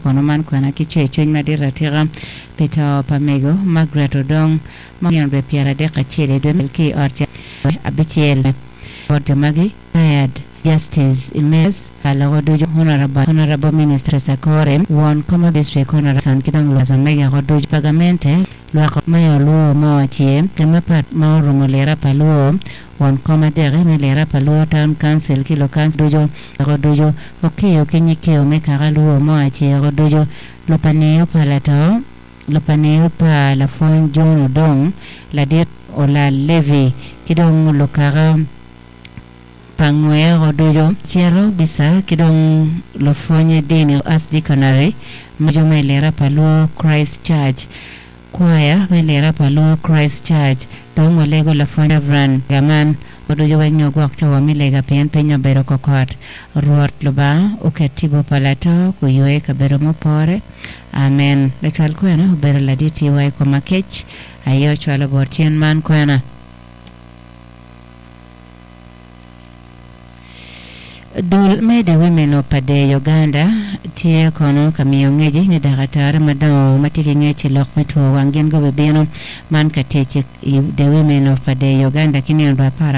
Kono man kwena ki cwercwiny madit atika pi to pa mego Margaret Odong ma nino dwe 31 i dwe me ki i ot cat abicel. Bot jo magi, Retired Justice Emeritus pa loko ducu Honourable Honourable Minister Sakore, Won Koma District Honourable Son ki dong lwak omege oko ducu pa gamente lwak me Olwo mo ace ki mapat ma orumo lira pa Lwo Won kom adeki me lira pa Lwo Town Council ki lukancil ducu oko ducu okiyo ki nyikio me kaka Lwo mo ace oko ducu lupaniyo pa lato lupaniyo pa lapwony John Odong ladit Olal Levi ki dong lukaka pa ngwe oko ducu cito bisa ki dong lupwonye dini Archdeaconry ma jo me lira pa Lwo Christ Church Kwaya me lira pa Luo Christ Church dong walego lapwony Rev. Lega man oducu wek nyo gwok cawa me lega pien piny obedo kokot. Rwot Lubanga oket tipo pa lato kuywe i kabedo mupore. Amen. Lacwal kwena obedo ladit iwa i koma kec aye ocwalo bot cen man kwena. Dul me The Women of Pader Uganda tye kono ka miyo ngeci ni dakatare madongo ma tye ki ngec i lok me two wang gin gubibino man ka tic i The Women of Pader Uganda ki nino dwe apar.